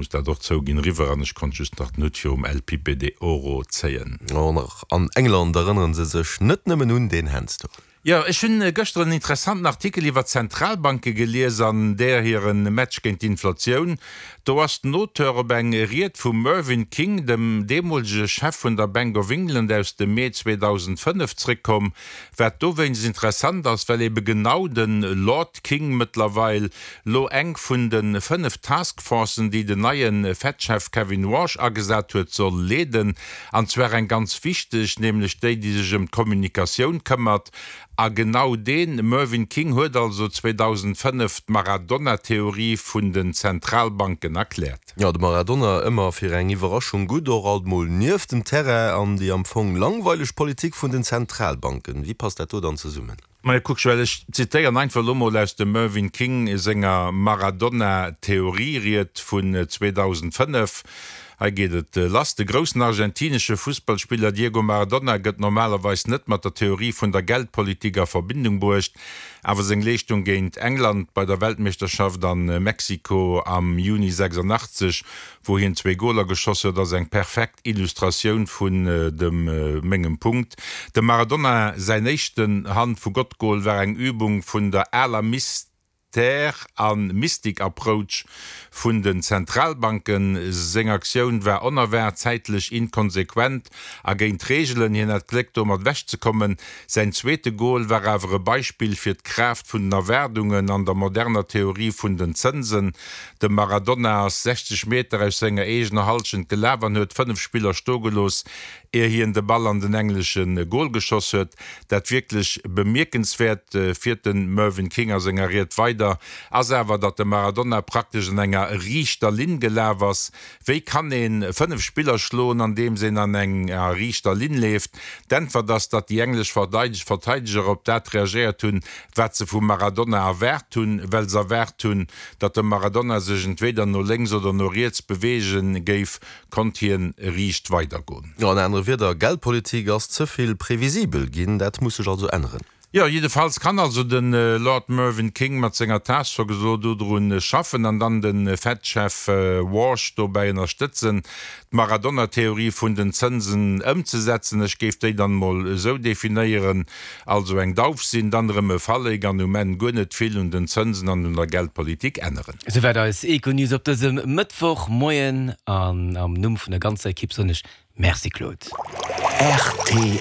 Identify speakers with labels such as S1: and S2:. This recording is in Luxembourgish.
S1: Muss dat och zouginn, riwwer an ech konnt just nach den Hutt virum El Pipe de Oro zéien.
S2: Och nach an England erënneren se sech net nëmmen un deen Handstor.
S1: Jo, ech hunn gëschter en interessanten Artikel iwwer d'Zentralbanke gelies an där hiren Match géint d'Inflatioun. Do ass den Auteur op eng Ried vum Mervyn King, dem deemolege Chef vun der Bank of England aus dem Mee 2005 zréckkomm. Wat dowéinst interessant ass, well ebe genau de Lord King mëttlerweil lo eng vun de 5 Task Forcen, déi den neie Fed-Chef Kevin Warsh agesat huet, soll leeden. An zwar eng ganz wichteg, nämlech déi, déi sech ëm d'Kommunikatioun këmmert. A genau dee Mervyn King huet also 2005 d'Maradona-Theorie vun den Zentralbanken erkläert.
S2: Jo, de Maradona, ëmmer fir eng Iwwerraschung gutt, och alt mol nieft dem Terrain. An déi am Fong langweileg Politik vun den Zentralbanken, wéi passt dat do dann zesummen?
S1: Majo, kuck, Joël, ech zitéieren einfach elo mol aus dem Mervyn King senger Maradona-Theorie-Ried vun 2005. Hei geet et lass, De groussen argentinesche Fussballspiller Diego Maradona gëtt normalerweis net mat der Theorie vun der Geldpolitik a Verbindung bruecht, awer seng Leeschtung géint England bei der Weltmeeschterschaft a Mexiko am Juni 86 wou hien zwéi Goler geschoss huet, ass eng perfekt Illustratioun vun dem mengem Punkt. Dem Maradona säin éischten Hand-vu-Gott-Gol war eng Übung vun der aler Mystère a Mystik-Approach vun den Zentralbanken. Seng Aktioun war onerwaart, zäitlech inkonsequent a géint d'Reegelen. Hien hat Gléck domat ewechzekommen. Säin zweete Gol war awer e Beispill fir d'Kraaft vun den Erwaardungen an der moderner Theorie vun den Zënsen. De Maradona ass 60 Meter aus senger eegener Hallschent gelaf an huet 5 Spiller stoe gelooss, ier hien de Ball an den englesche Gol geschoss huet. Dat wierklech Bemierkenswäert, fiert de Mervyn King a senger Ried weider, ass awer, datt de Maradona praktesch an enger riichter Linn gelaf ass. Wéi kann een 5 Spiller schloen, andeems een an enger riichter Linn leeft? D'Äntwert ass, datt déi englesch Verteideger op dat reagéiert hunn, wat se vum Maradona erwaart hunn, well se erwaart hunn, datt de Maradona sech entweeder no lénks oder no riets beweege géif, konnt hien riicht weidergoen.
S2: An anere Wierder, Geldpolitik ass ze vill previsibel ginn, dat muss sech also änneren.
S1: Jo, jiddefalls kann also de Lord Mervyn King mat senger Task Force elo dodru schaffen an dann de Fed-Chef Warsh dobäi ënnerstëtzen, d'Maradona-Theorie vun den Zënsen ëmzesetzen. Ech géif déi dann emol esou definéieren, Also eng Dauf sinn, dann erëm e Falléck an um Enn guer net vill un den Zënsen an un der Geldpolitik änneren.
S3: Souwäit eis Econews op dësem Mëttwochmoien an am Numm vun der ganzer Ekipp soen ech Merci Claude.
S4: Rtl.